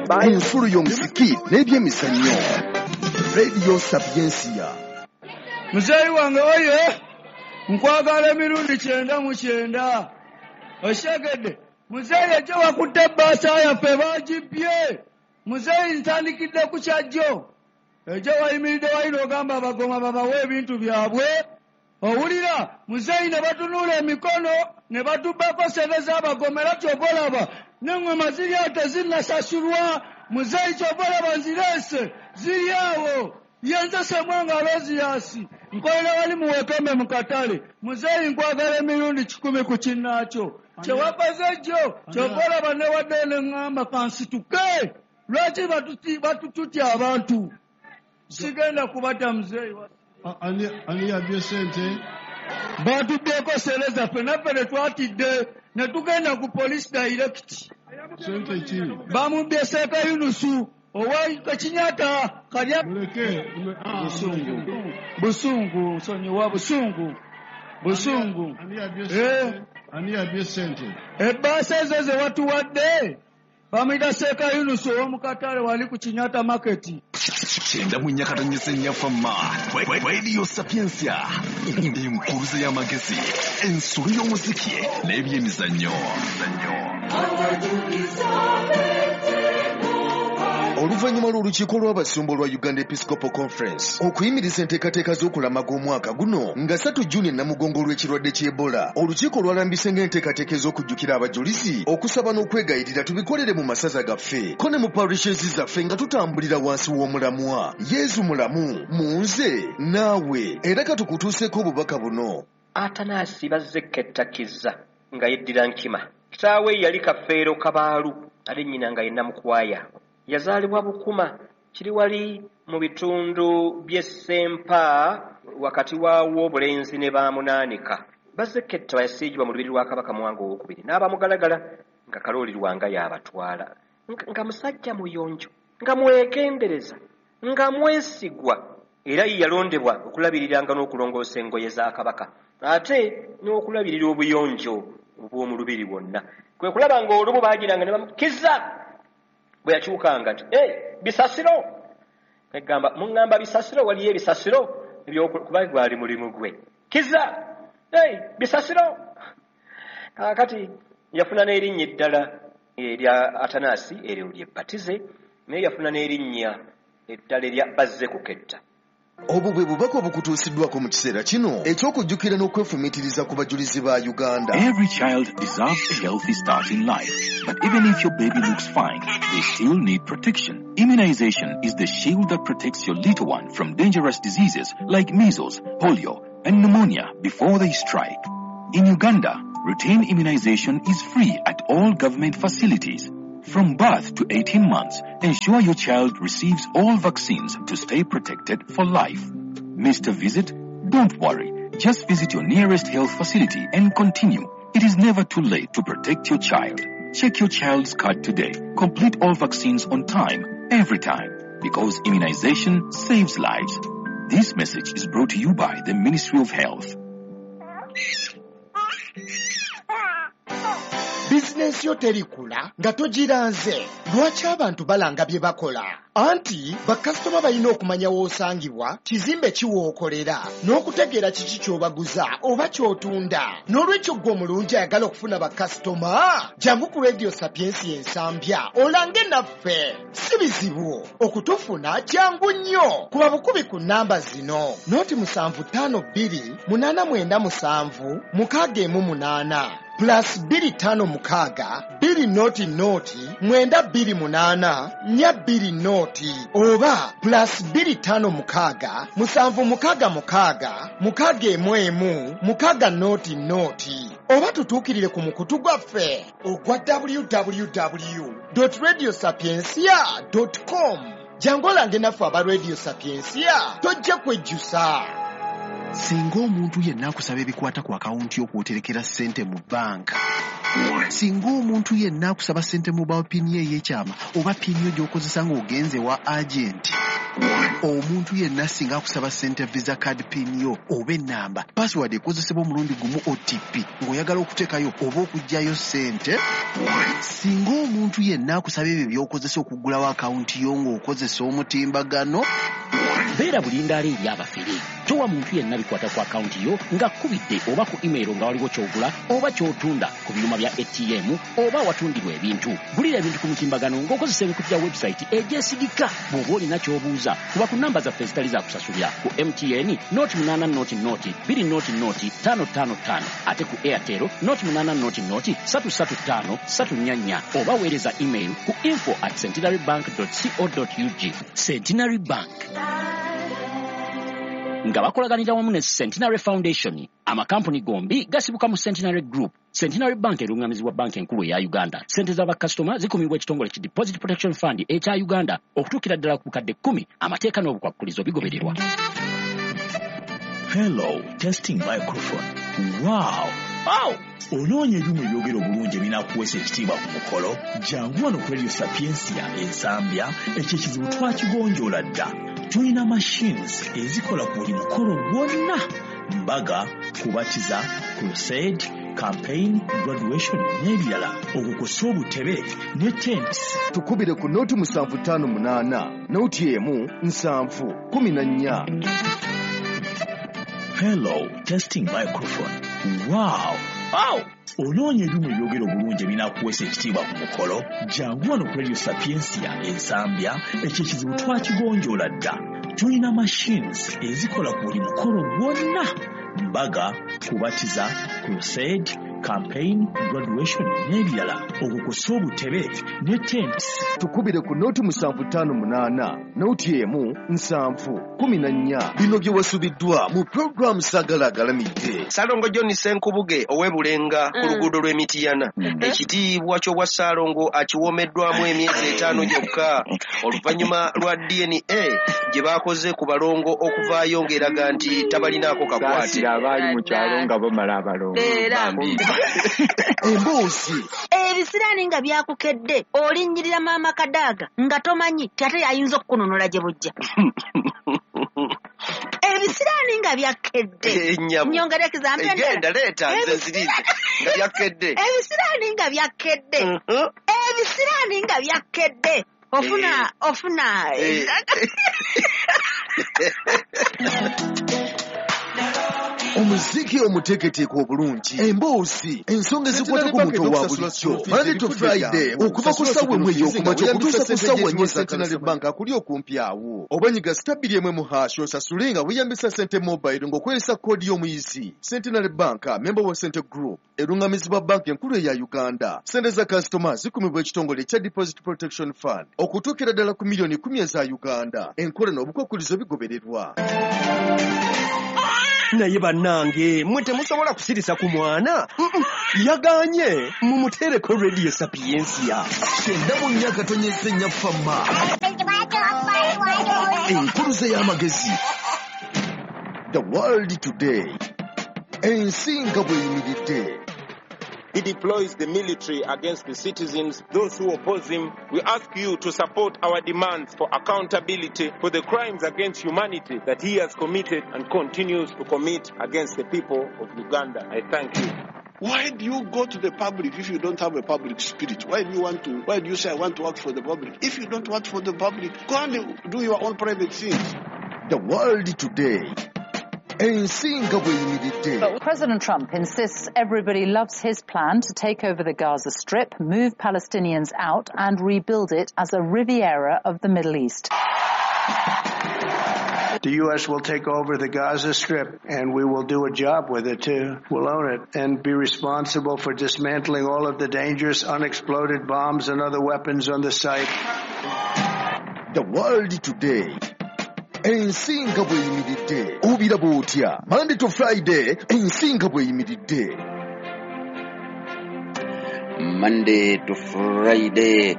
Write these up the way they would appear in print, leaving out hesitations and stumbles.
Ensulo y'omuziki n'ebyemizannyo. Radio Sapientia. Muzeeyi wange oye, nkwagala emirundi 99. Oshegedde. Muzeeyi ejjo wakutte ebbaasa yaffe bagibbye. Muzeeyi ntandikidde ku kyajjo. Ejjo wayimiridde wali n'ogamba abagoma babawe ebintu byabwe. Owulira muzeeyi ne batunuula emikono ne batubbako ssente z'abagoma era ky'ova olaba n'eŋŋoma ziri awo tezinnasasulwa. Muzeeyi ky'ova olaba nzireese ziri awo. Ye nze Ssemwanga Aloysius, nkolera wali mu Wekembe mu katale. Muzeeyi nkwagala emirundi 100 ku kinnaakyo. Kye wakoze jjo ky'ova olaba newaddeyo ne ŋŋamba kansituke. Lwaki batututya abantu? Sigenda kubata muzeeyi. Ani yabbye ssente? Batubbyeko ssente zaffe naffe ne twatidde ne tugenda ku police direct. Ssente ki? Bamubbye Seeka Yunusu owa Kinyata kalya. Muleke. Busungu. Busungu, sonyiwa busungu. Busungu. Ani yabbye ssente? Ani yabbye ssente? Ebbaasa ezo ze watuwadde bamuyita Seeka Yunusu ow'omu katale wali ku Kinyata Market. 94.4 Fama. Radio Sapientia. Enkuruze y'amagezi, ensolo y'omuziki n'ebyemizannyo. Oluvannyuma lw'olukiiko lw'abasumba olwa Uganda Episcopal Conference okuyimiriza enteekateeka z'okulamaga omwaka guno nga 3 Juni Namugongo olw'ekirwadde ky'Ebola, olukiiko lwalambise ng'enteekateeka ez'okujjukira abajulizi, okusaba n'okwegayirira tubikolere mu masaza gaffe ko ne mu parishes zaffe nga tutambulira wansi w'omulamwa Yezu mulamu mu nze naawe. Era katukutuuseeko obubaka buno. Atanasi Bazzeketta nga yeddira Nkima. Kitaawe yali Kafeero Kabaalu, ate nnyina nga ye Namukwaya. Yazaalibwa Bukuma, kiri wali mu bitundu by'e Ssempa wakati wa Wobulenzi ne Baamunaanika. Bazzeketta yasiigibwa mu lubiri lwa Kabaka Mwanga Owookubiri n'abamugalagala nga Kalooli Lwanga y'abatwala. Nga musajja muyonjo, nga mwegendereza, nga mwesigwa, era ye yalondebwa okulabiriranga n'okulongoosa engoye za Kabaka, ate n'okulabirira obuyonjo obw'omu lubiri bwonna. Kwe kulaba ng'olumu baagiranga ne bamukiza bwe yakyukanga nti bisasiro. Egamba muŋŋamba bisasiro, waliyo ebisasiro ebyokuba gwali mulimu gwe. Kiza bisasiro. Kaakati yafuna n'erinnya eddala erya Atanasi eryo ly'ebbatize, naye yafuna n'erinnya eddala erya Bazzekuketta. Obwo bwe bubaka obukutuusiddwako mu kiseera kino eky'okujjukira n'okwefumiitiriza ku bajulizi ba Uganda. Every child deserves a healthy start in life. But even if your baby looks fine, they still need protection. Immunization is the shield that protects your little one from dangerous diseases like measles, polio, and pneumonia before they strike. In Uganda, routine immunization is free at all government facilities. From birth to 18 months, ensure your child receives all vaccines to stay protected for life. Missed a visit? Don't worry. Just visit your nearest health facility and continue. It is never too late to protect your child. Check your child's card today. Complete all vaccines on time, every time, because immunization saves lives. This message is brought to you by the Ministry of Health. Bizinensi yo terikula nga togiranze. Lwaki abantu balanga bye bakola? Anti bakasitoma balina okumanya w'osangibwa, kizimbe ki w'okolera, n'okutegeera kiki ky'obaguza oba ky'otunda. N'olwekyo ggwe omulungi ayagala okufuna bakasitoma, jangu ku Radio Sapientia Ensambya olange naffe. Si bizibu okutufuna, jangu nnyo. Kuba bukubi ku nnamba zino: 0752 897 618 plus 256 2 0 0 928 420 oba plus 256 766 611 6 0 oba tutuukirire ku mukutu gwaffe ogwa www.radiosapientia.com. Jangu olange naffe aba Radio Sapientia, tojja kwejjusa. Singa omuntu yenna akusaba ebikwata ku akawunti y'okwoterekera ssente mu banka, Singa omuntu yenna akusaba ssente mobile pin ye ey'ekyama oba pin yo gy'okozesa ng'ogenze wa agenti. Omuntu yenna singa akusaba ssente visa card pin yo oba ennamba, password ekozesebwa omulundi gumu OTP ng'oyagala okuteekayo oba okuggyayo ssente. Singa omuntu yenna akusaba ebyo by'okozesa okuggulawo akawunti yo ng'okozesa omutimbagano. Beera bulindaala eri abafere. Towa muntu yenna bikwata ku akawunti yo ng'akkubidde oba ku email nga waliwo ky'ogula oba ky'otunda ku byuma bya ATM oba awatundirwa ebintu. Gulira ebintu ku mutimbagano ng'okozesa emikutu gya website egyesigika. Bw'oba olina ky'obuuza, kuba ku namba zaffe ezitali za kusasulira ku MTN 080 0 20 0 555, ate ku Airtel 080 0 335 34, oba weereza email ku info@centenarybank.co.ug. Centenary Bank nga bakolaganira wamu ne Centenary Foundation. Amakampuni gombi gasibuka mu Centenary Group. Centenary Bank erungamizibwa Banka Enkulu eya Uganda. Sente z'abakasitoma zikumibwa ekitongole ki Deposit Protection Fund ekya Uganda okutuukira ddala ku bukadde 10. Amateeka n'obukwakkulizo bigobererwa. Hello, testing microphone. Wow! Wow! Onoonya ebyuma ebyogera obulungi ebinaakuweesa ekitiibwa ku mukolo? Jangu wano ku Radio Sapientia Ensambya, ekyo ekizibu twakigonjoola dda. Tulina machines ezikola ku buli mukolo gwonna: mbaga, kubatiza, crusade, campaign, graduation n'ebirala, okukosa obutebe ne tents. Tukubire ku 0758 01 7 14. Hello, testing microphone. Wow! Wow! Onoonya ebyuma ebyogera obulungi ebinaakuweesa ekitiibwa ku mukolo? Jangu wano ku Radio Sapientia Ensambya, ekyo ekizibu twakigonjoola dda. Tulina machines ezikola ku buli mukolo gwonna: mbaga, kubatiza, crusade, campaign, graduation n'ebirala, okukosa obutebe ne tents. Tukubire ku 0758 01 7 14. Bino bye wasubiddwa mu pulogulaamu Saagala Agalamidde. Ssalongo John Ssenkubuge ow'e Bulenga ku luguudo lw'e Mityana, ekitiibwa ky'obwa Ssaalongo akiwoomeddwamu emyezi 5 gyokka oluvannyuma lwa DNA gye baakoze ku balongo okuvaayo ng'eraga nti tabalinaako kakwate. Saasira abaali mu kyalo nga bamala abalongo. Bambi. Emboozi. Ebisiraani nga byakukedde, olinnyirira maama Kadaaga nga tomanyi ti ate ayinza okukununula gye bujja. Ebisiraani nga byakkedde. Ennyabo. Nyongera ekizambi endala. Genda leeta nze nzirize. Nga byakkedde. Ebisiraani nga byakkedde. Ebisiraani nga byakkedde. Ofuna, ofuna. Omuziki omuteeketeeke obulungi, emboozi, ensonga ezikwata ku muntu owa bulijjo. Monday to Friday okuva ku ssaawa 1 ey'okumakya okutuusa ku ssaawa 4 Centenary Bank akuli okumpi awo. Oba nyiga *1 # osasule nga weeyambisa Sente Mobile ng'okozesa koodi y'omuyizi. Centenary Bank, member wa Sente Group, erungamizibwa Banka Enkulu eya Uganda. Sente za kasitoma zikumibwa ekitongole ekya Deposit Protection Fund okutuukira ddala ku miliyoni 10 eza Uganda. Enkola n'obukwakkulizo bigobererwa. Naye bannange, mmwe temusobola kusirisa ku mwana. Yagaanye, mumuteereko Radio Sapientia. 94.4 Fama. Enkuluze y'amagezi. The World Today. Ensi nga bw'eyimiridde. He deploys the military against the citizens, those who oppose him. We ask you to support our demands for accountability for the crimes against humanity that he has committed and continues to commit against the people of Uganda. I thank you. Why do you go to the public if you don't have a public spirit? Why do you want to? Why do you say I want to work for the public? If you don't work for the public, go and do your own private things. The World Today. Ensi nga bw'eyimiridde. But President Trump insists everybody loves his plan to take over the Gaza Strip, move Palestinians out and rebuild it as a Riviera of the Middle East. The U.S. will take over the Gaza Strip, and we will do a job with it, too. We'll own it and be responsible for dismantling all of the dangerous unexploded bombs and other weapons on the site. The World Today. Ensi nga bw'eyimiridde. Obiraba otya? Monday to Friday, ensi nga bw'eyimiridde. Monday to Friday.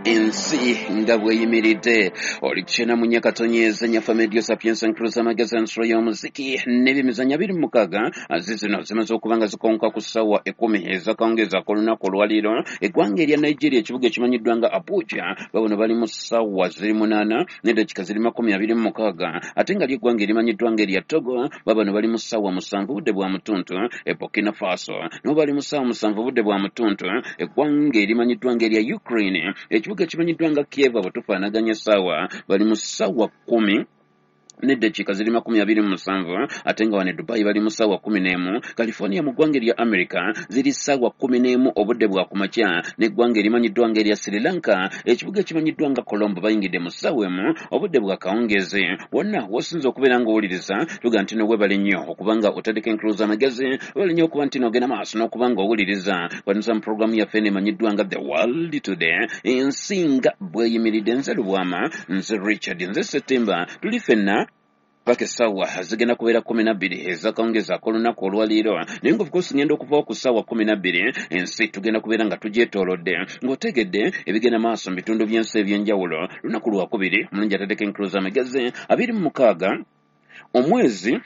Ensi nga bweyimiridde, oli kyena mu nyakatonyeza nyafa Medio Sapienza Nkruza Magezi, ensolo y'omuziki n'ebyemizannyo. 26 zizino zimaze okuba nga zikonka ku ssaawa 10 ezakawungeezi ak'olunaku olwaleero. Eggwanga erya Nigeria, ekibuga ekimanyiddwa nga Abuja, babono bali mu ssaawa ziri 8 n'eddakiika ziri 26, ate nga lyeggwanga erimanyiddwa nga erya Togo, babano bali mu ssaawa 7 budde bwa mutuntu. E Burkina Faso nabo bali mu ssaawa 7 budde bwa mutuntu. Eggwanga erimanyiddwa nga erya Ukraine, ekibuga ekimanyiddwa nga Kiev, abo tufaanaganya essaawa, bali mu ssaawa 10 n'eddakiika ziri 27, ate nga wano e Dubai bali mu ssaawa 11. California mu ggwanga erya America ziri ssaawa 11 obudde bwa kumakya. N'eggwanga erimanyiddwa nga erya Sri Lanka, ekibuga ekimanyiddwa nga Colombo, bayingidde mu ssaawa 1 obudde bwa kawungeezi. Wonna wosinza okubeera ng'owuliriza, tuga nti nowebale nnyo okuba nga otandika enkuluza amagezi, webale nnyo okuba nti nogenda maaso n'okuba nga owuliriza kwanusa mu puroguramu yaffe eno emanyiddwa nga The World Today, ensi nga bweyimiridde. Nze Lubwama, nze Richard, nze September, tuli ffenna paka essaawa zigenda kubeera 12 ezakawungeezi ak'olunaku olwaleero. Naye nga of course ngenda okuvawo ku ssaawa 12, ensi tugenda kubeera nga tugyetoolodde ng'otegedde ebigenda maaso mu bitundu by'ensi ebyenjawulo. Lunaku lwakubiri, omulungi ataddeko enkuluza amagezi, 26 omwezi,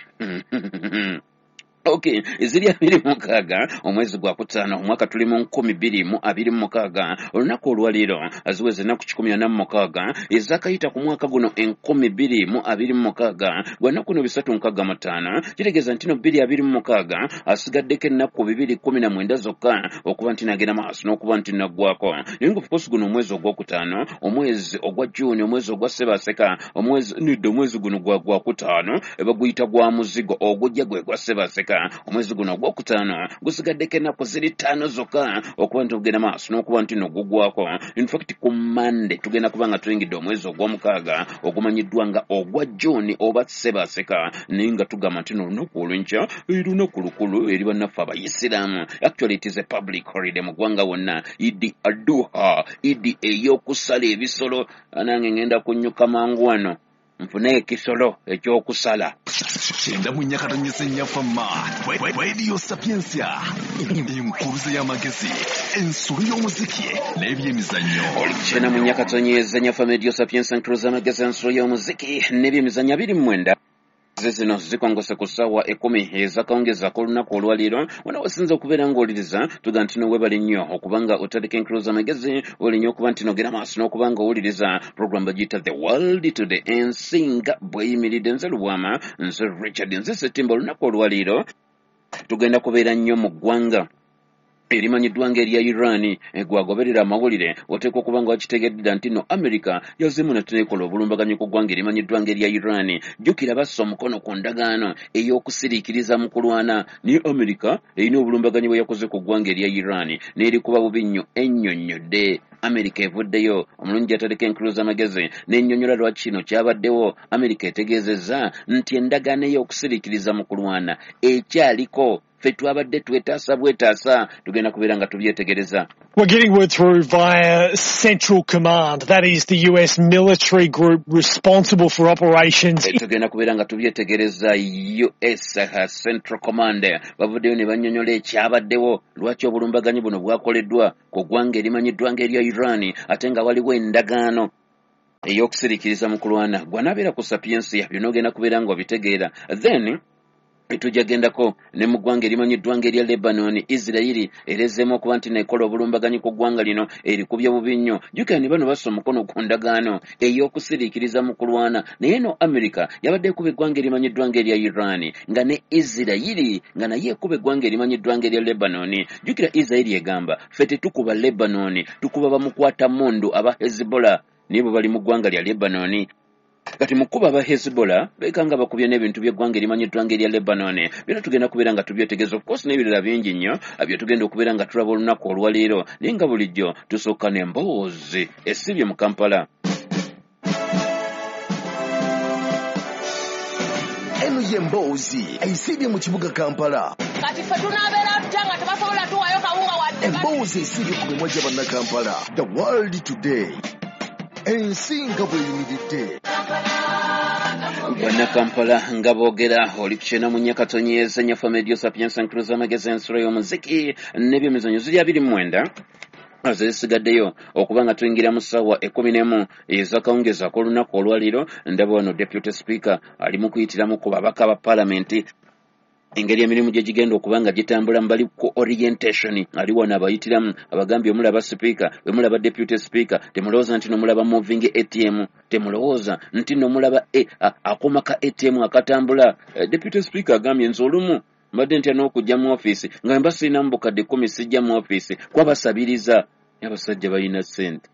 okay, ziri 26 omwezi gwa kutaano, omwaka tuli mu 2026. Olunaku olwaleero ziweze ennaku 146 ezakayita ku mwaka guno 2026, gwa nnaku no 365. Kitegeeza nti no 2026 asigaddeko ennaku 219 zokka okuba nti nagenda maaso n'okuba nti naggwako. Naye nga of course guno omwezi ogwokutaano, omwezi ogwa Juni, omwezi ogwa Sebaseka, omwezi nidde, omwezi guno gwa gwakutaano baguyita gwa muzigo, ogujja gwe gwa Sebaseka. Omwezi guno ogwokutaano gusigaddeko ennaku ziri 5 zokka okuba nti ogenda maaso n'okuba nti no gugwako. In fact ku Mande tugenda kuba nga tuyingidde omwezi ogwomukaaga ogumanyiddwa nga ogwa Juni oba Sebaseka. Naye nga tugamba nti nolunaku olwenkya lunaku lukulu eri bannaffe abayisiraamu. Actually it is a public holiday mu ggwanga wonna, Idi Aduha, Idi ey'okusala ebisolo. Nange ngenda kunnyuka mangu wano nfune ekisolo ekyokusala. 94.4 Nyafama Radio Sapientia, enkuluze y'amagezi, ensolo y'omuziki n'ebyemizannyo. Oli 94.4 Nyafama Radio Sapientia, enkuluze y'amagezi, ensolo y'omuziki n'ebyemizannyo. 29 zino zikongose ku ssaawa 10 ezakawungeezi ak'olunaku olwaleero. Wona wasinza okubeera ng'owuliriza, tuga nti nowebale nnyo okuba nga otandika enkuluza amagezi, webale nnyo okuba nti nogera maaso n'okuba nga owuliriza program bagiyita The World Today, ensi nga bweyimiridde. Nze Lubwama, nze Richard, nze Setimba. Olunaku olwaleero tugenda kubeera nnyo mu ggwanga erimanyiddwa nga erya Iran. Gwagoberera amawulire oteekwa okuba nga wakitegedde nti no America yazzeemu netuneekola obulumbaganyi ku ggwanga erimanyiddwa nga erya Iran. Jjukira bassa omukono ku ndagaano ey'okusiriikiriza mu kulwana, naye America erina obulumbaganyi bwe yakoze ku ggwanga erya Iran n'erikuba bubi nnyo. Ennyonnyodde, America evuddeyo, omulungi ataleka enkulu z'amagezi, n'ennyonnyola lwaki kino kyabaddewo. America etegeezezza nti endagaano ey'okusiriikiriza mu kulwana ekyaliko, ffe twabadde twetaasa bwetaasa. Tugenda kubeera nga tubyetegereza. We're getting word through via Central Command, that is the US military group responsible for operations. Tugenda kubeera nga tubyetegereza. US Central Command bavuddeyo ne bannyonnyola ekyabaddewo, lwaki obulumbaganyi buno bwakoleddwa ku ggwanga erimanyiddwa ng'erya Iran, ate nga waliwo endagaano ey'okusiriikiriza mu kulwana. Gwanaabeera ku Sapiensia, byonna ogenda kubeera nga obitegeera. Then tujja gendako ne mu ggwanga erimanyiddwa ng'erya Lebanon. Isirayiri erezeemu okuba nti nekola obulumbaganyi ku ggwanga lino, erikubye bubi nnyo. Jjukira ne bano bassa omukono ku ndagaano ey'okusiriikiriza mu kulwana, naye no America yabadde ekuba eggwanga erimanyiddwa ng'erya Iran, nga ne Isirayiri nga naye ekuba eggwanga erimanyiddwa ng'erya Lebanon. Jjukira Isirayiri egamba ffe tetukuba Lebanon, tukuba bamukwata mundu aba Hezbollah, naye bwe bali mu ggwanga lya Lebanon. Kati mu kkuba aba Hezbollah beekanga bakubye n'ebintu by'eggwanga erimanyiddwa ng'erya Lebanon. Byonna tugenda kubeera nga tubyetegereza, of course n'ebirala bingi nnyo bye tugenda okubeera nga tulaba olunaku olwaleero. Naye nga bulijjo tusooka n'emboozi esibye mu Kampala. Eno ye mboozi esiibye mu kibuga Kampala. Kati ffe tunaabeera tutya nga tebasobola tuwayo kawunga wadde? Emboozi esiibye ku mimwa gya Bannakampala. The World Today, ensi nga bweyimiridde. Bannakampala nga boogera. Oli ku 94.4 Nyafama Radio Sapientia, nkuluza amagezi, ensolo y'omuziki n'ebyemizannyo. Ziri 29 Zesigaddeyo okuba nga tuyingira mu ssaawa 11 ez'akawungeezi ak'olunaku olwaleero. Ndaba wano Deputy Speaker ali mu kuyitiramu ku babaka ba Paalamenti engeri emirimu gye gigenda okuba nga gitambula. Bali ku orientation, ali wano abayitiramu, abagambye omulaba Sipiika, bwe mulaba Deputy Speaker, temulowooza nti nomulaba moving ATM, temulowooza nti nomulaba akuuma ka ATM akatambula. Deputy Speaker agambye, nze olumu mbadde ntya n'okujja mu ofiisi nga mba sirinamu bukadde 10, sijja mu ofiisi kwabasabiriza. Abasajja balina ssente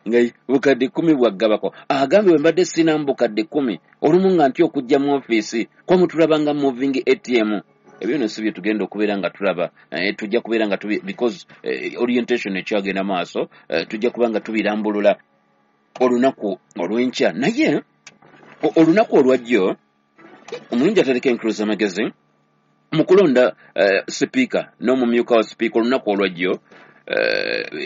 nga bukadde 10 bwaggabako. Agambye bwe mbadde sirinamu bukadde 10, olumu nga ntya okujja mu ofiisi, kuba mutulaba nga moving ATM. Ebyo nno si bye tugenda okubeera nga tulaba. Tujja kubeera nga because orientation ekyagenda maaso, tujja kuba nga tubirambulula olunaku olw'enkya. Naye olunaku olwajjo omulungi atereka enkulu z'amagezi mu kulonda sipiika n'omumyuka wa sipiika. Olunaku olwajjo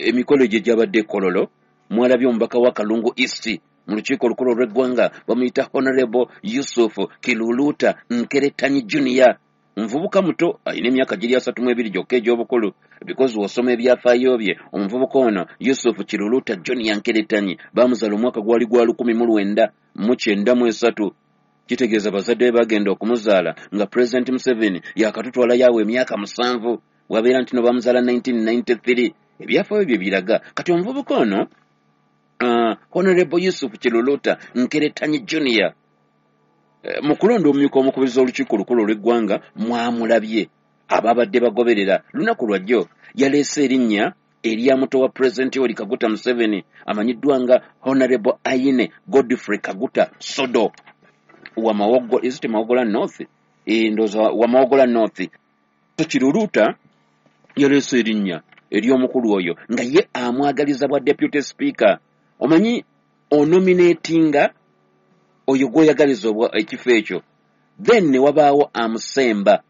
emikolo gye gyabadde e Kololo, mwalabye omubaka wa Kalungu East mu lukiiko olukulu olw'eggwanga, bamuyita Honorable Yusuf Kiluluta Nkeretanyi Junior. Omuvubuka muto, alina emyaka giri 32 gyokka egy'obukulu, because w'osoma ebyafaayo bye, omuvubuka ono Yusuf Kiluluta Junior Nkeretanyi bamuzaala omwaka gwali gwa 1993. Kitegeeza bazadde be bagenda okumuzaala nga President Museveni yakatutwala yawe emyaka 7, wabeera nti no bamuzaala 1993, ebyafaayo bye biraga. Kati omuvubuka ono Honorable Yusuf Kiluluta Nkeretanyi Junior, mu kulonda omumyuka omukubiriza olukiiko olukulu olw'eggwanga, mwamulabye ababadde bagoberera lunaku lwajjo, yaleese erinnya erya muto wa President Yoweri Kaguta Museveni amanyiddwa nga Honorable Aine Godfrey Kaguta Sodo wa Mawogola, is it Mawogola North? Ndowooza wa Mawogola North. So Kiruluta yaleese erinnya ery'omukulu oyo nga ye amwagaliza bwa Deputy Speaker. Omanyi onominatinga oyo gw'oyagaliza ekifo ekyo, then ne wabaawo amusemba.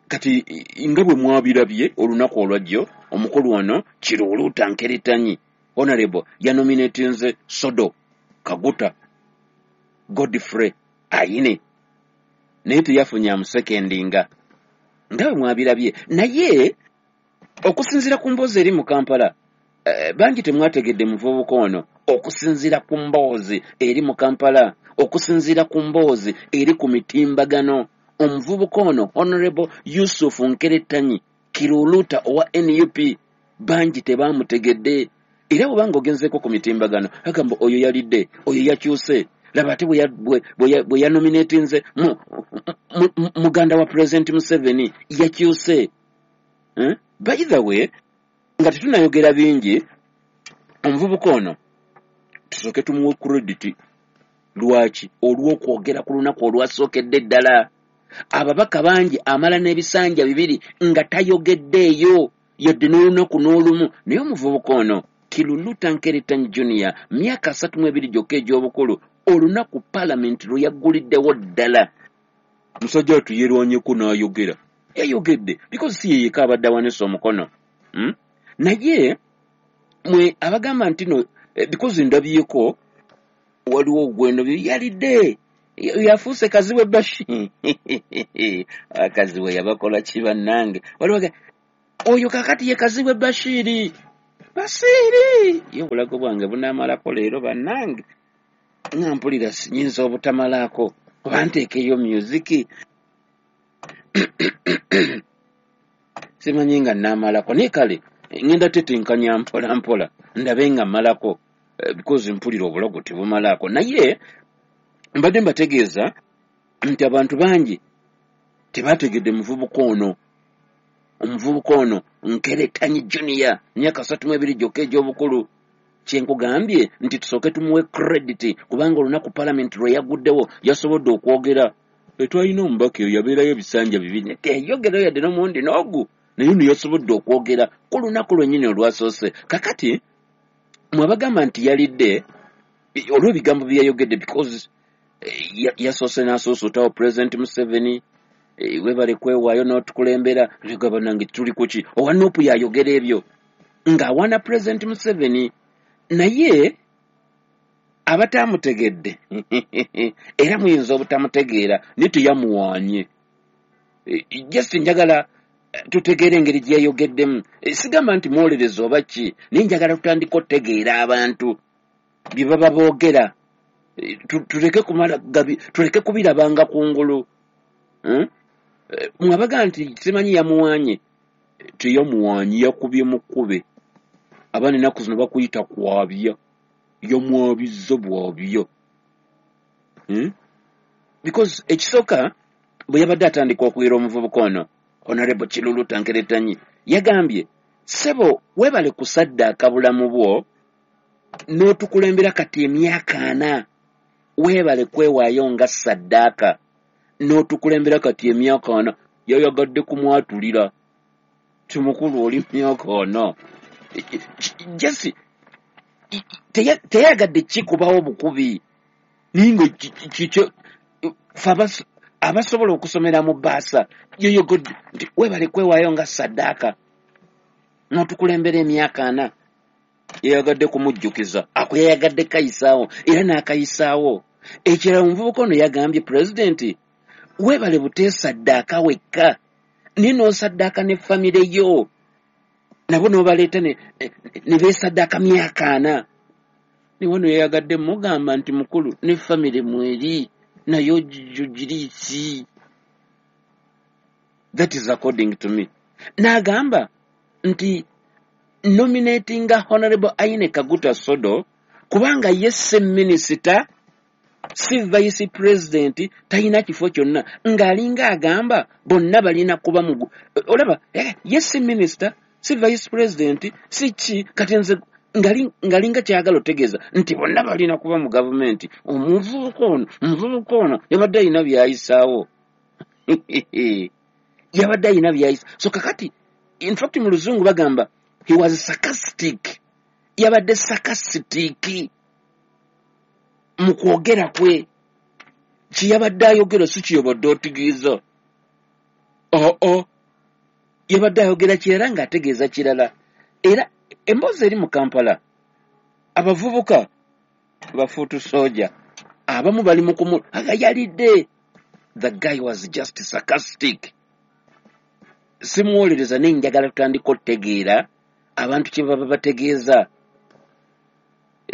Kati nga bwe mwabirabye olunaku olwajjo, omukulu ono Kiruluta Nkeretanyi Honorable yanominatinze Sodo Kaguta Godfrey Aine, naye teyafunye amusekendinga nga bwe mwabirabye. Naye okusinziira ku mboozi eri mu Kampala, bangi temwategedde muvubuka ono. Okusinziira ku mboozi eri mu Kampala, okusinziira ku mboozi eri ku mitimbagano, omuvubuka ono Honorable Yusuf Nkeretanyi Kiruluta owa NUP bangi tebamutegedde. Era bw'obanga ogenzeeko ku mitimbagano, agamba oyo yalidde, oyo yakyuse, laba ate bwe yanominatinze muganda wa President Museveni yakyuse. By the way, nga tetunayogera bingi, omuvubuka ono tusooke tumuwe credit. Lwaki? Olw'okwogera ku lunaku olwasookedde ddala. Ababaka bangi amala n'ebisanja 2 nga tayogeddeeyo yadde n'olunaku n'olumu, naye omuvubuka ono Kiruluta Nkeretanyi Junior, myaka 32 gyokka egy'obukulu, olunaku Paalamenti lwe yagguliddewo ddala, musajja wattu yeerwanyeko n'ayogera. Yayogedde because si ye yekka abadde awanise omukono. Naye mwe abagamba nti no, because ndabyeko waliwo gweno yalidde, yafuuse Kazibwe Bashir. Kazibwe yabakola ki bannange? Waliwo oyo kakati ye Kazibwe Bashiri. Bashiri ye obulago bwange bunaamalako leero bannange, nga mpulira nyinza obutamalaako oba nteekeyo music, simanyi nga naamalako, naye kale ngenda tetenkanya mpola mpola ndabe nga mmalako, because mpulira obulago tebumalaako. Naye mbadde mbategeeza nti abantu bangi tebategedde muvubuka ono. Omuvubuka ono Nkeretanyi Junior, myaka 32 gyokka egy'obukulu. Kyenkugambye nti tusooke tumuwe credit kubanga olunaku Paalamenti lwe yagguddewo yasobodde okwogera. Twalina omubaka eyo yabeerayo ebisanja 2, teyayogerayo yadde n'omulundi n'ogu, naye ono yasobodde okwogera ku lunaku lwennyini olwasoose. Kakati mwabagamba nti yalidde olw'ebigambo bye yayogedde, because yasoose n'asoosotawo President Museveni, webale kwewaayo n'otukulembera, bannange tuli kuki? Owa NUP yayogera ebyo ng'awaana President Museveni, naye abataamutegedde era muyinza obutamutegeera, naye teyamuwaanye. Just njagala Tutegeere engeri gye yayogeddemu. Sigamba nti mwolereza oba ki, naye njagala tutandika otegeera abantu bye baba boogera. Tuleke kumala gabi, tuleke kubirabanga kungulu. Mwabaga nti simanyi yamuwanye, teyamuwanye, yakubye mukube. Abaana ennaku zino bakuyita kwabya, yamwabizza bwabya. Because ekisooka bwe yabadde atandika okuyira omuvubuka ono, Honorable Kiruluuta Nkeretanyi, yagambye, ssebo weebale kusaddaaka bulamu bwo n'otukulembera kati emyaka 40, weebale kwewaayo nga saddaaka n'otukulembera kati emyaka 40. Yayagadde kumwatulira timukulu oli myaka 40. Jesse teyagadde kikubawo bukubi, naye nga fe abasobola okusomera mu bbaasa yoyogodde nti weebale kwewaayo nga saddaaka n'otukulembera emyaka 40. Yayagadde kumujjukiza, ako yayagadde kayisaawo era n'akayisaawo. Ekirala omuvubuka ono yagambye pulezidenti weebale buteesaddaaka wekka, naye n'osaddaaka ne famire yo, nabo n'obaleeta ne beesaddaaka myaka 40. Ne wano yayagadde mugamba nti mukulu ne famire mweri naye ogiriiki. That is according to me. N'agamba nti nominatinga Honorable Aine Kaguta Sodo kubanga ye si minisita, si vice president, talina kifo kyonna, ng'alinga agamba bonna balina kuba mugu. Olaba ye si minisita, si vice president, si ki, kati nze ngalinga kyagala otegeeza nti bonna balina kuba mu gavumenti. Omuvubuka ono yabadde alina byayisaawo. Yabadde alina byayisa. So kakati in fact mu luzungu bagamba he was sarcastic. Yabadde sarcastic mu kwogera kwe. Kye yabadde ayogera si kyeyabadde ategeeza. Oo, yabadde ayogera kirala ng'ategeeza kirala. Era emboozi eri mu Kampala, abavubuka bafuutu soja abamu bali mu kumu agayalidde. The guy was just sarcastic. Simuwolereza, naye njagala tutandika otegeera abantu kye baba bategeeza.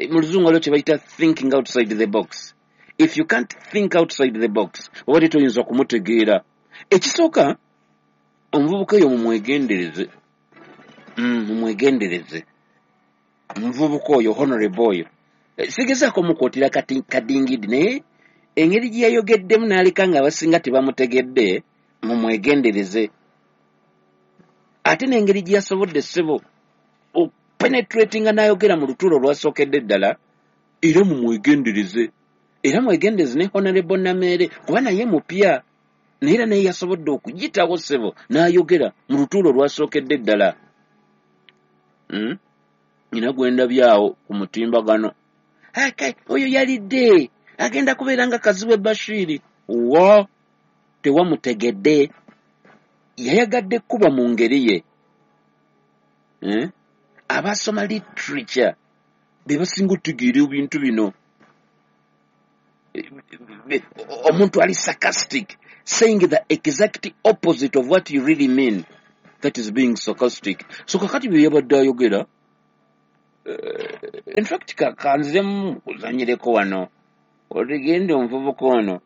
Mu luzungu waliwo kye bayita thinking outside the box. If you can't think outside the box, obadde toyinza kumutegeera. Ekisooka, omuvubuka oyo mumwegendereze. Mumwegendereze omuvubuka oyo, honorable oyo. Sigezaako mukwotera kati kadingidi, naye engeri gye yayogeddemu n'aleka nga abasinga tebamutegedde, mumwegendereze. Ate n'engeri gye yasobodde ssebo openetratinga n'ayogera mu lutuulo olwasookedde ddala, era mumwegendereze. Era mwegendereze ne Honorable Nameere, kuba naye mupya, naye era naye yasobodde okuyitawo ssebo n'ayogera mu lutuulo olwasookedde ddala. Nina gwe ndabyawo ku mutimbagano, oyo yalidde agenda kubeera nga Kazibwe Bashiri. Wa tewamutegedde, yayagadde kuba mu ngeri ye. Abasoma literature be basinga otutegeera ebintu bino. Omuntu ali sarcastic, saying the exact opposite of what you really mean, that is being sarcastic. So kakati bye yabadde ayogera, in fact kanziremu kuzanyireko wano otegende omuvubuka ono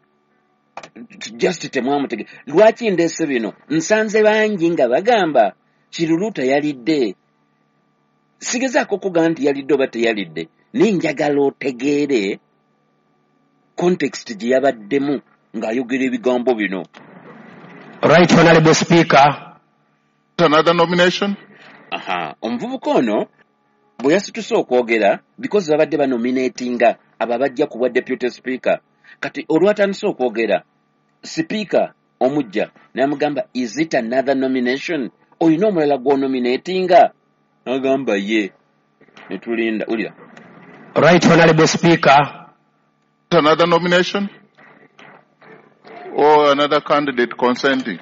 just temwamutegedde. Lwaki ndeese bino? Nsanze bangi nga bagamba Kiruluuta yalidde. Sigezaako okugamba nti yalidde oba teyalidde, naye njagala otegeere context gye yabaddemu ng'ayogera ebigambo bino. Right Honorable Speaker. Another nomination? Aha, omuvubuka ono bwe yasituse okwogera, because babadde banominatinga abo abajja ku bwa deputy speaker. Kati olwatandise okwogera, sipiika omujja n'amugamba, is it another nomination? Olina omulala gw'onominatinga? N'agamba ye. Ne tulinda, wulira. Right Honorable Speaker. Another nomination? Or another candidate consenting?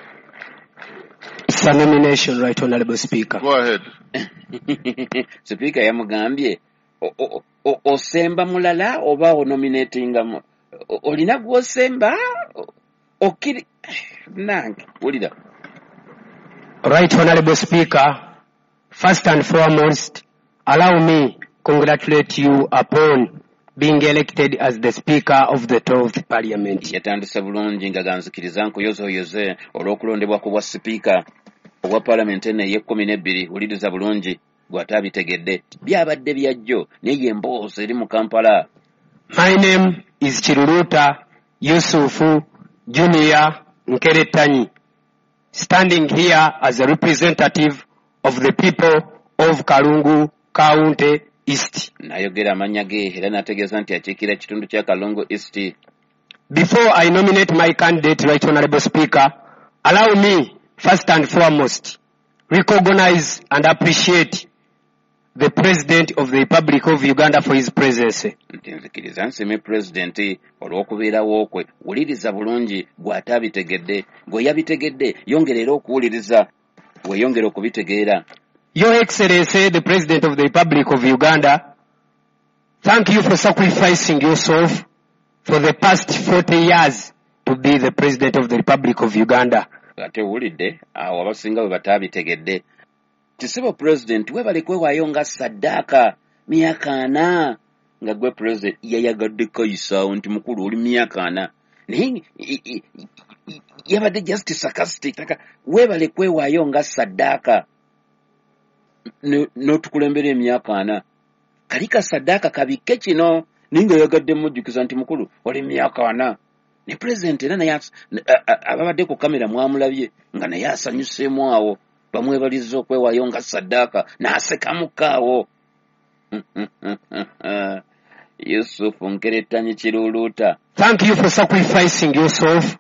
It's a nomination, Right Honorable Speaker. Go ahead. Sipiika yamugambye, osemba mulala oba onominatinga olina gw'osemba? Okiri nange, wulira. Right Honorable Speaker, first and foremost, allow me congratulate you upon being elected as the Speaker of the 12th Parliament. Yatandise bulungi nga ganzikiriza nkuyozeoyoze olw'okulondebwa ku bwa sipiika obwa paalamenti eno ey'e12. Wuliriza bulungi gw'ataabitegedde, byabadde byajjo naye emboozi eri mu Kampala. My name is Kiruluuta Yusufu Junior Nkeretanyi, standing here as a representative of the people of Kalungu County East. N'ayogera amannya ge era n'ategeeza nti akiikira ekitundu kya Kalungu East. Before I nominate my candidate, Right Honorable Speaker, allow me first and foremost recognize and appreciate the President of the Republic of Uganda for his presence. Nti nzikiriza nsiime pulezidenti olw'okubeerawo kwe. Wuliriza bulungi gw'ataabitegedde, gwe yabitegedde yongera era okuwuliriza weeyongere okubitegeera. Your Excellency, the President of the Republic of Uganda, thank you for sacrificing yourself for the past 40 years to be the President of the Republic of Uganda. Ate owulidde awo abasinga bwe bataabitegedde. Tisebo Pulezidenti, weebale kwewaayo nga saddaaka myaka 40 nga gwe pulezidenti. Yayagadde kayisaawo nti mukulu oli myaka 40, naye yabadde just sarcastic. Weebale kwewaayo nga saddaaka n'otukulembera emyaka 40. Kali ka saddaaka kabikke kino, naye nga yagadde mujjukiza nti mukulu oli myaka 40. Ne pulezidenti era naye ababadde ku kamera mwamulabye nga naye asanyuseemu awo, bamwebalizza okwewaayo nga saddaaka n'asekamuko awo. Yusufu Nkeretanyi Kiruluuta. Thank you for sacrificing yourself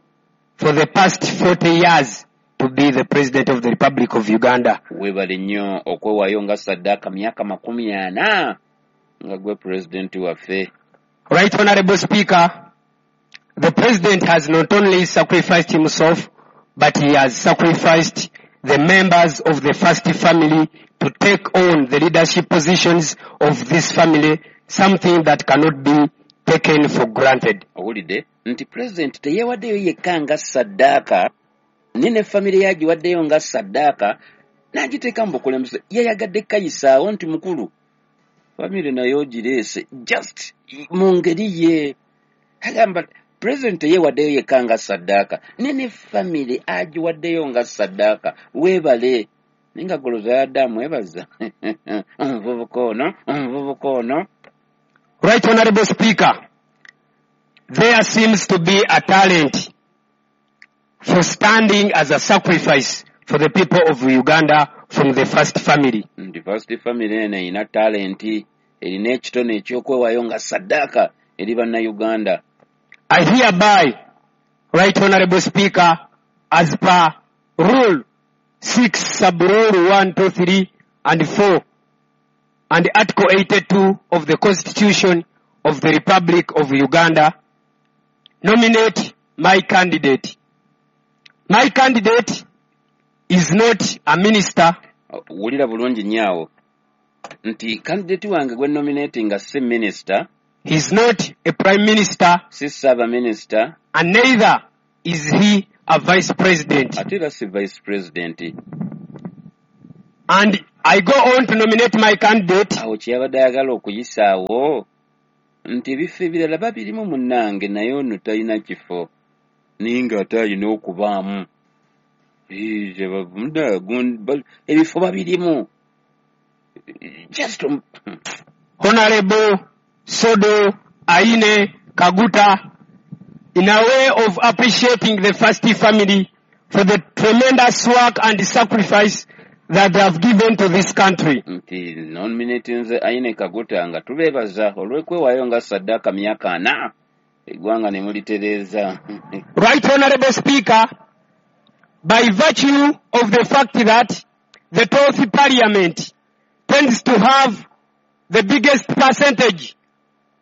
for the past 40 years to be the President of the Republic of Uganda. Weebale nnyo okwewaayo nga saddaaka myaka 40 nga gwe pulezidenti waffe. Right Honorable Speaker, the President has not only sacrificed himself, but he has sacrificed the members of the first family to take on the leadership positions of this family, something that cannot be taken for granted. Owulidde nti President teyeewaddeyo yekka nga saddaaka, naye ne famire yagiwaddeyo nga saddaaka n'agiteeka mu bukulembeze. Yayagadde kayisaawo nti mukulu famire naye ogireese just mu ngeri ye. Agamba President teyeewaddeyo yekka nga saddaaka, naye ne famire agiwaddeyo nga saddaaka. Weebale. Naye nga goloza yadde amwebaza omuvubuka ono, omuvubuka ono. Right Honorable Speaker, there seems to be a talent for standing as a sacrifice for the people of Uganda from the first family. The first family eno erina talenti, erina ekitone eky'okwewaayo nga saddaaka eri bannayuganda. I hereby, Right Honorable Speaker, as per Rule 6, Sub-Rule 1, 2, 3, and 4, and Article 82 of the Constitution of the Republic of Uganda, nominate my candidate. My candidate is not a minister. Wulira bulungi nnyo nti candidate wange gwe nominating nga si minister. He is not a prime minister. Si saba minister. And neither is he a vice president. Ate era si vice president. And I go on to nominate my candidate. Awo kyeyabadde ayagala okuyisaawo nti ebifo ebirala babirimu munnange, naye ono talina kifo, naye ng'ate alina okubaamu. Ebifo babirimu. Just Honorable Sodo Aine Kaguta, in a way of appreciating the First Family for the tremendous work and sacrifice that they have given to this country. Nti nominatinze Aine Kaguta nga tubeebaza olw'okwewaayo nga saddaaka myaka 40 eggwanga ne mulitereeza. Right Honorable Speaker, by virtue of the fact that the 12th Parliament tends to have the biggest percentage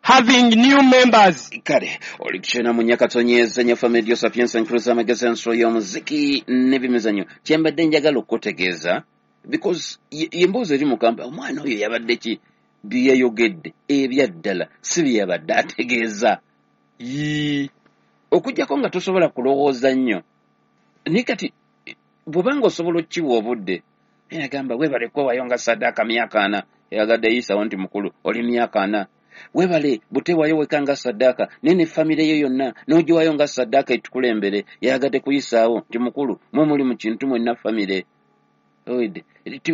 having new members. Kale oli kukyona mu Nyakatonyeza nnyo Family Sapienza Nkuruza amagezi ensolo y'omuziki n'ebimizannyo. Kyembadde njagala okutegeeza because emboozi eri mu Kampala, omwana oyo yabadde ki bye yayogedde ebyaddala si bye yabadde ategeeza. Okuggyako nga tosobola kulowooza nnyo. Naye kati Bw'obanga osobola okkiwa obudde, naye agamba weebale kwewayo nga saddaaka myaka 40, eyagadde yisawo nti mukulu oli myaka 40. Weebale butewayo weka nga saddaaka, naye ne famire yo yonna n'ogiwayo nga saddaaka etukulembere, yayagadde kuyisaawo nti mukulu mwe muli mu kintu mwenna famire.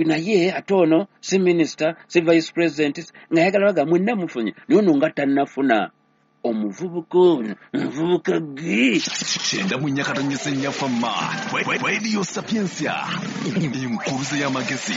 Naye ate ono si minisita, si vice president, ng'ayagala baga mwenna mufunye, naye ono nga tannafuna. Omuvubuka ono, omuvubuka ggi. 94.4 Fama, Radio Sapientia, enkuluze y'amagezi,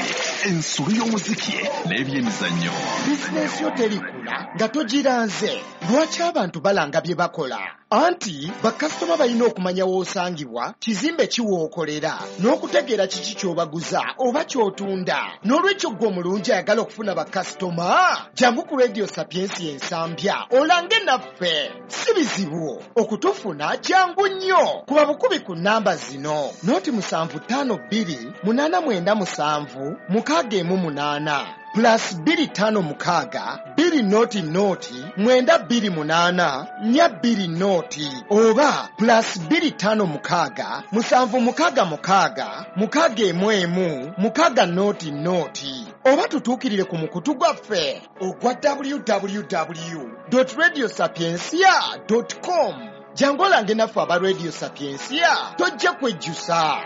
ensolo y'omuziki n'ebyemizannyo. Bizinensi yo terikula nga togiranze. Lwaki abantu balanga bye bakola? Anti bakasitoma balina okumanya w'osangibwa, kizimbe ki w'okolera, n'okutegeera kiki ky'obaguza oba ky'otunda. N'olwekyo ggwe omulungi ayagala okufuna bakasitoma, jangu ku Radio Sapientia Ensambya olange naffe. Si bizibu okutufuna, jangu nnyo. Kuba bukubi ku nnamba zino: 0752 897 618 +256 200 928 420 oba +256 766 611 600, oba tutuukirire ku mukutu gwaffe ogwa www.radiosapientia.com. Jangu olange naffe aba Radio Sapientia, tojja kwejjusa.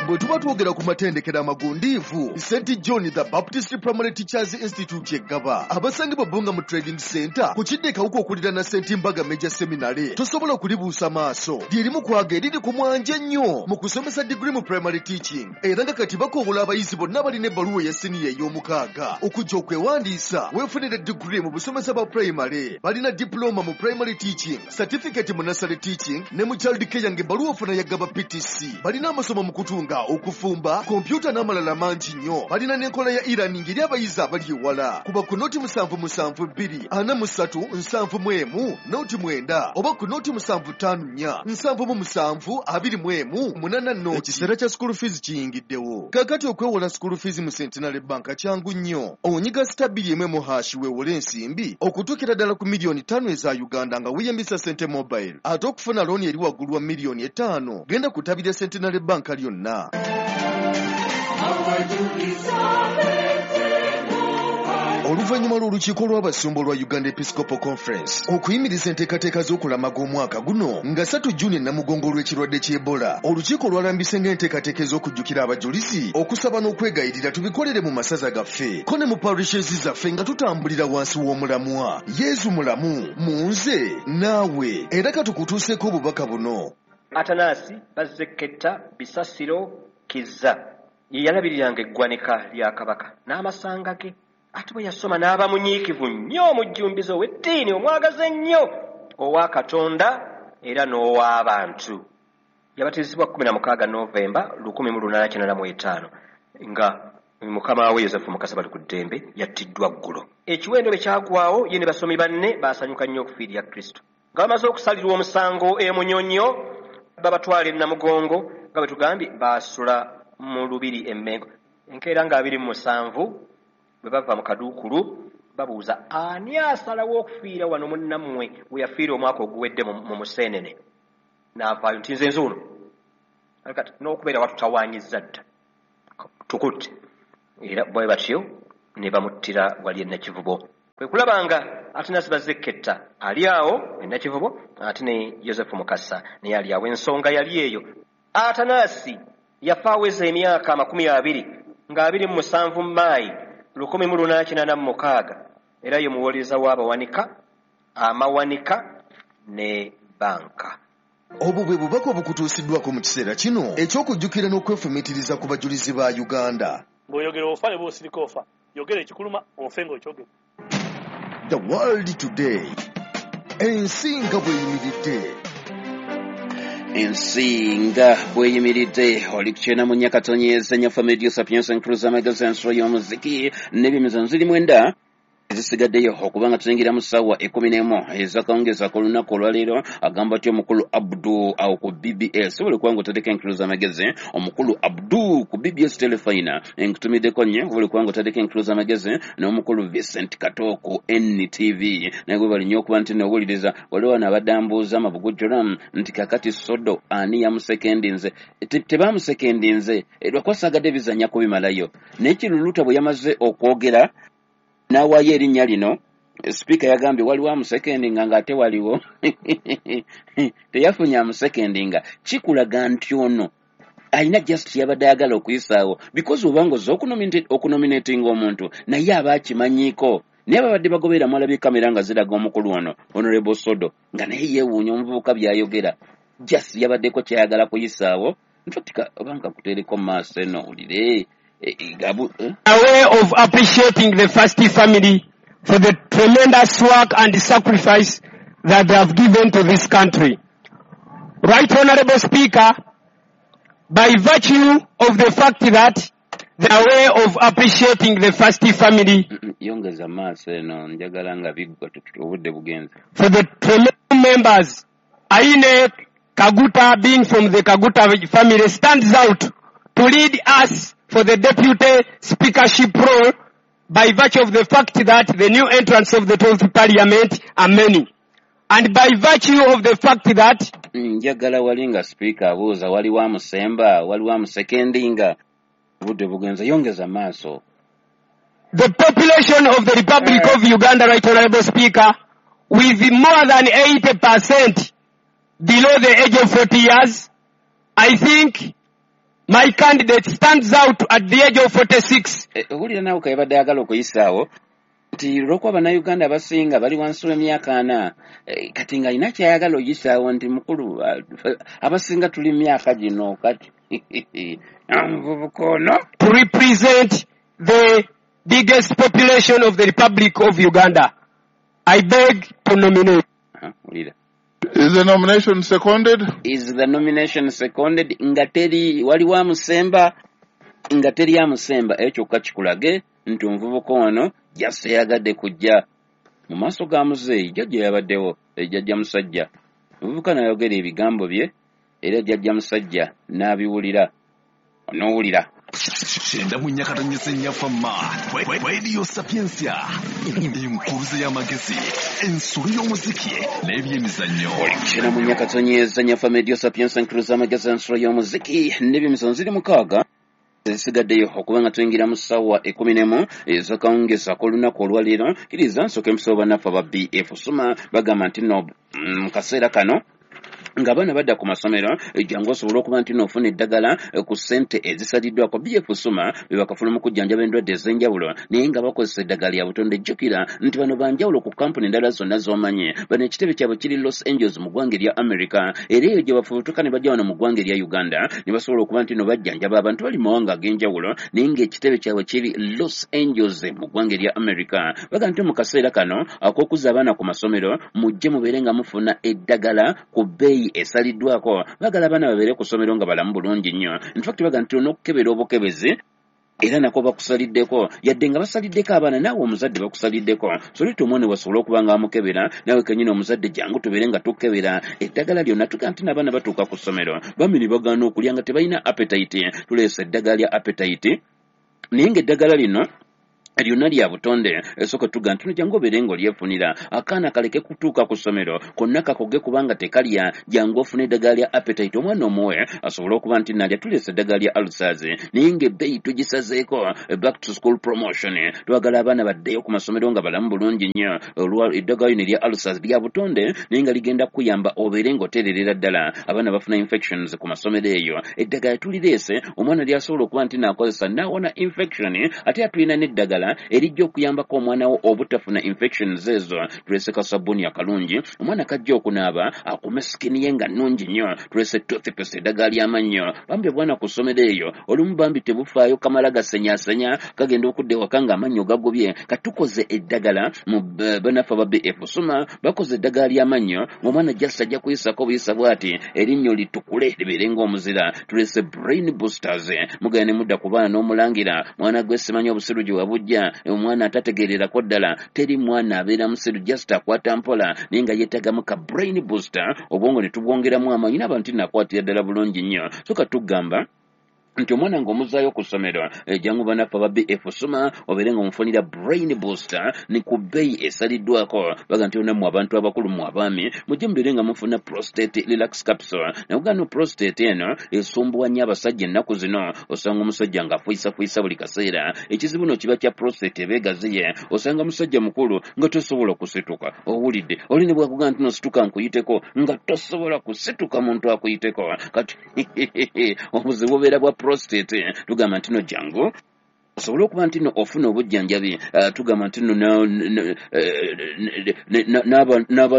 Bwe tuba twogera ku matendekero amagundiivu, St John the Baptist Primary Teachers Institute eggaba abasangibwa Bbunga mu Trading Center ku kidde Kawuka okuliraana St Mbaga Major Seminary, tosobola kulibuusa maaso. Lyerimu kwaga eriri ku mwanje ennyo mu kusomesa digiri mu primary teaching, era nga kati bakoowola abayizi bonna balina ebbaluwa eya siniya ey'omukaaga okujja okwewandiisa weefunire digiri mu busomesa bwa primary. Balina diploma mu primary teaching, certificate mu nursery teaching ne mu child care ng'ebbaluwa ofuna ya Gaba PTC. Balina amasomo mu kutunga, okufumba, kompyuta n'amalala mangi nnyo. Balina n'enkola ya e-learning eri abayizi abali ewala. Kuba ku 077 243 71 09 oba ku 0754 77 21 80. Ekiseera kya school fees kiyingiddewo. Kaakati okwewola school fees mu Centenary Bank kyangu nnyo. Onyiga *2 hash weewole ensimbi okutuukira ddala ku miliyoni 5 eza Uganda nga weeyambisa Sente Mobile. Ate okufuna looni eri waggulu wa miliyoni 5, genda kutabira Centenary Bank lyonna. Oluvannyuma lw'olukiiko lw'abasumba olwa Uganda Episcopal Conference okuyimiriza enteekateeka z'okulamaga omwaka guno nga 3 Juni Namugongo olw'ekirwadde ky'Ebola, olukiiko lwalambise ng'enteekateeka ez'okujjukira abajulizi, okusaba n'okwegayirira tubikolere mu masaza gaffe ko ne mu parishes zaffe nga tutambulira wansi w'omulamwa Yezu mulamu mu nze naawe. Era katukutuuseeko obubaka buno. Atanasi Bazzeketta Bisasiro Kizza ye yalabiriranga eggwanika lya Kabaka n'amasanga ge. Ate bwe yasoma n'aba munyiikivu nnyo, omujjumbize ow'eddiini, omwagaze ennyo owa Katonda era n'ow'abantu. Yabatizibwa 16 Novemba 1885 nga mukama we Yosefu Mukasa Balikuddembe yattiddwa ggulo. Ekiwendo bwe kyagwawo, ye ne basomi banne baasanyuka nnyo okufiirya Kristo. Nga bamaze okusalirwa omusango e Munyonyo, babatwala e Namugongo, nga bwe tugambye baasula mu lubiri e Mmengo. Enkeera nga 27 bwe bava mu kaduukulu babuuza ani asalawo okufiira wano munnammwe we yafiira omwaka oguwedde mu Museenene. N'avaayo nti nze nzuuno. Kati n'okubeera watutawaanyizza dda, tukutte. Era bwe batyo ne bamuttira wali e Nakivubo. Kwe kulaba nga Atanasi Bazzeketta ali awo e Nakivubo, ate ne Yosefu Mukasa naye ali awo. Ensonga yali eyo. Atanasi yafa aweza emyaka 20 nga 27 Maayi 1886, era ye muwolereza w'abawanika, amawanika ne banka. Obwo bwe bubaka obukutuusiddwako mu kiseera kino eky'okujjukira n'okwefumiitiriza ku bajulizi ba Uganda. Bw'oyogera ofa ne bw'osirika ofa, yogera ekikuluma ofe ng'okyogera. The World Today, ensi nga bw'eyimiridde. Ensi nga bw'eyimiridde. Oli ku 94.4 Fama Radio Sapientia, Enkuluze amagezi, ensolo y'omuziki n'ebyemizannyo ziri 9. Ezisigaddeyo okuba nga tuyingira mu ssaawa 11 ezakawungeezi ak'olunaku olwaleero, agamba atya omukulu Abdu awo ku BBS? Buli kubanga otaddeko enkulu z'amagezi, omukulu Abdu ku BBS Telefina, nkutumiddeko nnyo. Buli kubanga otaddeko enkulu z'amagezi n'omukulu Vincent Kato ku NTV, naye gwe bali nnyo okuba nti nowuliriza. Waliwo wano abadde ambuuza amabugujjolamu nti kakati Sodo ani yamusekendinze? Tebamusekendinze, lwakuba saagadde bizannya kubimalayo, naye Kiruluta bwe yamaze okwogera n'awaayo erinnya lino, sipiika yagambye waliwo amusekendinga ng'ate waliwo teyafunye amusekendinga. Kikulaga nti ono alina just yabadde ayagala okuyisaawo, because obanga ozze okunominatinga omuntu naye aba akimanyiiko. Naye babadde bagoberera, mwalabye kamera nga ziraga omukulu ono Honorable Sodo nga naye yeewuunya omuvubuka by'ayogera. Just yabaddeko kyayagala kuyisaawo. Nfatika oba nkakuteereko mu maaso eno owulire. Gabu, eh? A way of appreciating the First Family for the tremendous work and sacrifice that they have given to this country. Right Honorable Speaker, by virtue of the fact that the way of appreciating the First Family Yongeza maaso eno, njagala nga biggwa, obudde bugenze. for the tremendous members, Aine Kaguta, being from the Kaguta family, stands out to lead us for the deputy speakership role by virtue of the fact that the new entrants of the 12th parliament are many. And by virtue of the fact that Njagala wali nga sipiika abuuza waliwo amusemba, waliwo amusekendinga. Obudde bugenze, yongeza maaso. the population of the Republic of Uganda, Right Honorable Speaker, with more than 80% below the age of 40 years, I think my candidate stands out at the age of 46. Owulira naawe kayabadde ayagala okuyisaawo nti olw'okuba Bannayuganda abasinga bali wansi w'emyaka 40, kati ng'alina kyayagala oyisaawo nti mukulu, abasinga tuli myaka gino, kati omuvubuka ono to represent the biggest population of the Republic of Uganda. I beg to nominate. Wulira. Is the nomination seconded? Is the nomination seconded? Nga teri waliwo amusemba, nga teri amusemba. Ekyo kyokka kikulage nti omuvubuka ono jase yagadde kujja mu maaso ga muzeeyi jjajja yabaddewo, jjajja musajja. Omuvubuka n'ayogera ebigambo bye era jjajja musajja n'abiwulira, onoowulira. 94.4 Fama Radio Sapientia, enkuruze y'amagezi, ensolo y'omuziki n'ebyemizannyo. 94.4 Fama Radio Sapientia, enkuruze y'amagezi, ensolo y'omuziki n'ebyemizannyo. Ziri 6 ezisigaddeyo okuba nga tuyingira mu ssaawa 11 ez'akawungeezi ak'olunaku olwaleero. Kkiriza nsooke mpisewo bannaffe aba BF Suma, bagamba nti nno mu kaseera kano ng'abaana badda ku masomero, jangu osobole okuba nti n'ofuna eddagala ku ssente ezisaliddwako. BF Suma be bakafuna mu kujjanjaba endwadde ez'enjawulo naye nga bakozesa eddagala lya butonde. Jjukira nti bano banjawulo ku kampuni endala zonna z'omanyi. Bano ekitebe kyabwe kiri Los Angeles mu ggwanga erya America, era eyo gye bafubutuka ne bajja wano mu ggwanga erya Uganda ne basobola okuba nti no bajjanjaba abantu bali mu mawanga ag'enjawulo naye ng'ekitebe kyabwe kiri Los Angeles mu ggwanga erya America. Bagamba nti mu kaseera kano ak'okuzza abaana ku masomero, mujje mubeere nga mufuna eddagala ku bbeeyi esaliddwako. Baagala abaana babeere ku ssomero nga balamu bulungi nnyo. In fact bagamba nti olina obukebezi era nako bakusaliddeko, yadde nga basaliddeko abaana, naawe omuzadde bakusaliddeko. So leeta omwana wasobole okuba nga amukebera, naawe kennyini omuzadde jangu tubeere nga tukebera eddagala lyonna. Tugamba nti n'abaana batuuka ku ssomero bambi ne bagaana okulya nga tebalina appetite. Tuleese eddagala lya appetite, naye ng'eddagala lino lyonna lya butonde. Esooka tuga nti jangu obeere ng'olyefunira, akaana kaleke kutuuka ku ssomero konna kakoge kubanga tekalya. Jangu ofune eddagala lya appetite omwana omuwe asobole okuba nti nalya. Tuleese eddagala lya ulcers naye ng'ebbeeyi tugisazeeko. Back to school promotion, twagala abaana baddeyo ku masomero nga balamu bulungi nnyo. Eddagala lino erya ulcers lya butonde naye nga ligenda kukuyamba obeere ng'oteererera ddala. Abaana bafuna infections ku masomero eyo, eddagala tulireese omwana lyasobola okuba nti naakozesa n'awona infection. Ate atulina n'eddagala erijja okuyambako omwana wo obutafuna infections ezo. Tulese kasabbuuni akalungi omwana kajja okunaaba akume sikini ye nga nnungi nnyo. Tulese toothpaste, eddagala ly'amannyo. Bambi obwana ku ssomero eyo olumu bambi tebufaayo, kamala gasenyaasenya, kagenda okudda ewaka ng'amannyo gagobye. Katukoze eddagala mu bannaffe aba BF Suma bakoze eddagala ly'amannyo ng'omwana just ajja kuyisako buyisa bw'ati erinnyo litukule libeere ng'omuzira. Tulese brain boosters, mugenda ne mudda ku baana n'omulangira mwana gwe simanyi obusiru gye wabujja. atya omwana atategeererako ddala. Teri mwana abeera musiru, just akwata mpola, naye nga yeetagamu ka brain booster, obwongo ne tubwongeramu amaanyi n'abantu nakwatira ddala bulungi nnyo. So katugamba nti omwana ng'omuzaayo ku ssomero, jangu banaffe aba BF Suma obeere nga omufunira brain booster ni ku bbeeyi esaliddwako. Baga nti onammwe abantu abakulu, mu abaami, mujje mubeere nga mufuna prostate relax capsule. Nakugaa no prostate eno esumbuwa nnyo abasajja ennaku zino. Osanga omusajja ng'afuyisafuyiса buli kaseera. Ekizibu no kiba kya prostate eba egaziye. Osanga musajja mukulu nga tosobola kusituka, owulidde oli ne bwakugaa nti nosituka nkuyiteko, nga tosobola kusituka muntu akuyiteko. Kati obuzibu bubeera bwa prostate. Tugamba nti no jangu osobole okuba nti no ofuna obujjanjabi. Tugamba nti no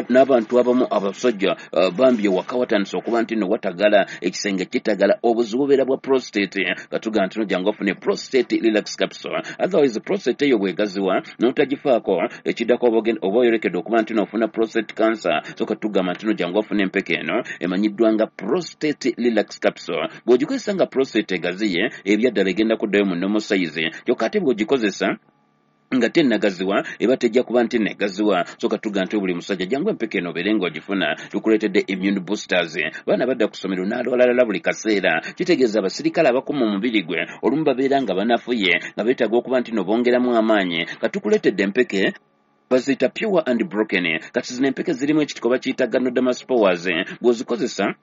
n'abantu abamu abasajja bambi ewaka watandise okuba nti no watagala, ekisenge kitagala, obuzibu bubeera bwa prostate. Katugamba nti no jangu ofune prostate relax capsule. Otherwise prostate eyo bwegaziwa n'otagifaako, ekiddako oba oyolekedde okuba nti no ofuna prostate cancer. So katugamba nti no jangu ofune empeke eno emanyiddwa nga prostate relax capsule. Bw'ogikozesa nga prostate egaziye, ebyaddala egenda kuddayo mu normal size. Kyokka ate bw'ogikozesa nga tennagaziwa, eba tejja kuba nti negaziwa. So katuga nti buli musajja jangu empeke eno obeere ng'ogifuna. Tukuleetedde immune boosters. Baana badda ku ssomero n'alwalalala buli kaseera, kitegeeza abasirikale abakuma omubiri gwe olumu babeera nga banafuye, nga beetaaga okuba nti no bongeramu amaanyi. Katukuleetedde empeke baziyita pure and broken. Kati zino empeke zirimu ekitiko bakiyita ganoderma spores. Bw'ozikozesa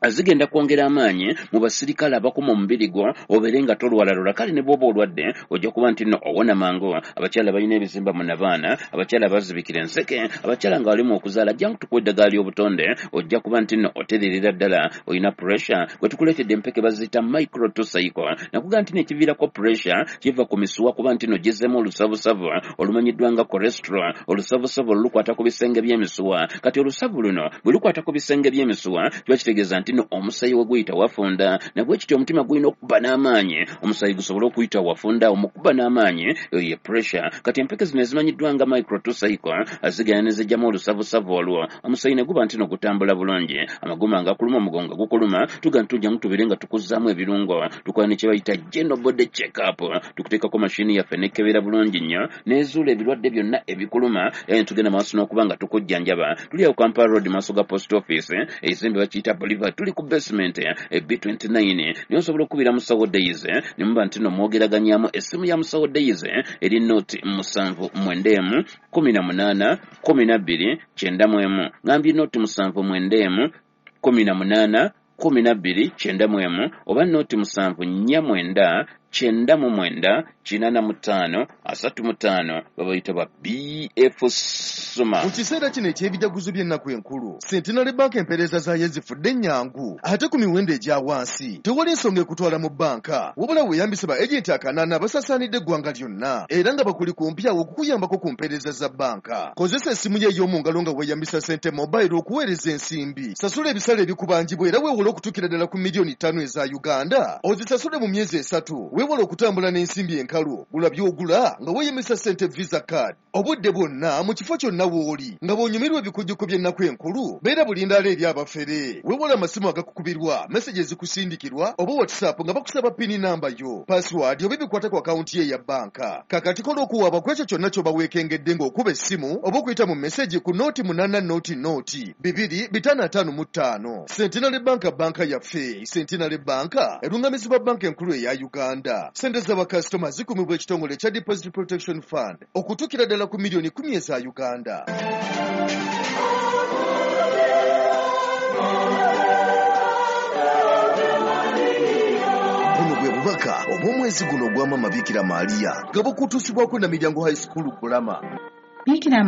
zigenda kwongera amaanyi mu basirikale abakuma omubiri gwo, obeere nga tolwalalula. Kale ne bw'oba olwadde ojja kuba nti no owona mangu. Abakyala balina ebizimba mu nabaana, abakyala bazibikira enseke, abakyala nga balimu okuzaala, jangu tukuwa eddagala ly'obutonde, ojja kuba nti no otererera ddala. Olina pressure, gwe tukuleetedde empeke baziyita micro to cycle. Nakugaa nti nekiviirako pressure kiva ku misuwa kuba nti no gizzemu olusavusavu olumanyiddwa nga cholesterol. Olusavusavu olwo lukwata ku bisenge by'emisuwa. Kati olusavu luno bwe lukwata ku bisenge by'emisuwa, kiba kitegeeza nti no omusaayi we guyita wafunda, nabwe kityo omutima gulina okuba n'amaanyi, omusaayi gusobole okuyita wafunda. Omukuba n'amaanyi, eyo ye pressure. Kati empeke zino ezimanyiddwa nga micro to cycle zigenda ne zijjamu olusavusavu olwo, omusaayi ne guba nti no gutambula bulungi. Amagumba nga gakuluma, omugongo gukuluma, tuga nti tujja tubeere nga tukuzzaamu ebirungo. Tukola ne kye bayita general body check up, tukuteekako mashini yaffe nekebera bulungi nnyo nezuula ebirwadde byonna ebikuluma, tugenda maaso n'okuba nga tukujjanjaba. Tuli awo Kampala Road, maaso ga post office, ekizimbe bakiyita Bolivar, tuli ku basement B29. Naye osobola okukubira Musawo Days ne muba nti no mwogeraganyamu. Essimu ya Musawo Days eri 079 18 12 91. Ngambye 079 18 12 91 oba 074 99 85 35. Babayita ba BF Suma. Mu kiseera kino eky'ebijaguzo by'ennaku enkulu, Centenary Bank empeereza zaayo zifudde ennyangu ate ku miwendo egya wansi. Tewali nsonga ekutwala mu bbanka, wabula weeyambise ba agenti 8 abasaasaanidde eggwanga lyonna era nga bakuli kumpi awo okukuyambako ku mpeereza za bbanka. Kozesa essimu yo ey'omu ngalo nga weeyambisa Sente Mobile okuweereza ensimbi, sasula ebisale ebikubanjibwa era weewole okutuukira ddala ku miliyoni 5 eza Uganda, ozisasule mu myezi 3. Weewale okutambula n'ensimbi enkalu, gula by'ogula nga weeyambisa Sente Visa card obudde bwonna mu kifo kyonna w'oli. Nga bw'onyumirwa ebikujjuko by'ennaku enkulu, beera bulindaala eri abafere. Weewale amasimu agakukubirwa, meseji ezikusindikirwa oba WhatsApp nga bakusaba pini namba yo, password oba ebikwata ku akawunti ye eya bbanka. Kakati kola okuwaaba ku ekyo kyonna ky'oba weekengedde ng'okuba essimu oba okuyita mu meseji ku 080 0 2 555. Centenary Bank, banka yaffe. Centenary Bank erungamizibwa banka enkulu eya Uganda. Sente z'abakasitoma zikumibwa ekitongole ekya Deposit Protection Fund okutuukira ddala ku miliyoni 10 eza Uganda. Buno bwe bubaka obw'omwezi guno ogwa Maama Bikira Maria nga bukutuusibwako Namiryango High School Bulama. Bikira.